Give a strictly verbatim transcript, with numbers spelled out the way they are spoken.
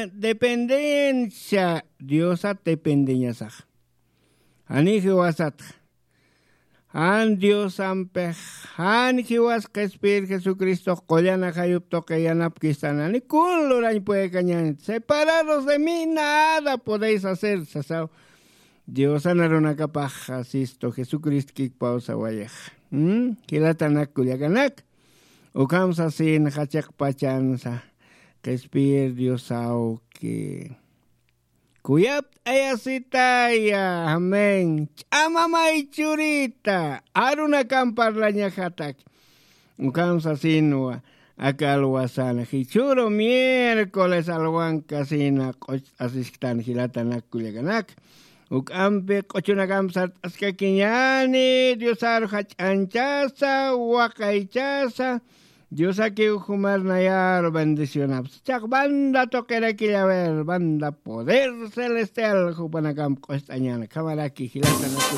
Dependencia diosat dependeñasax. Jani jiwasatxa, jan diosampix, jan jiwas qhispir jesucristox qullan ajayup tuqi yanapkistan, jani kun lurañ puekañanit. Separados de mí nada podéis hacer sasaw. Diosan arunakapax asistu jesucristo kikpawsawayax. Jilatanak kullakanak, ukham sasin jachiqpachansa qhispir diosawki. Kuyapt'ayasitaya, amén. Ch'amamay churita, arunakan parlañaxatak. Ukham sasinwa, aka alwasan jichhüru miércoles alwankasina q'ucht'asisktan jilatanak kullakanak. Uk'ampi q'uchunakamp sart'askakiñani diosar jach'anchasa, waqaychasa. Diosakiw jumar nayaru bendicionaps. Chax banda tuqirakillawer, banda poder celestial jupanakamp q'ust'añana khamaraki jilatanak.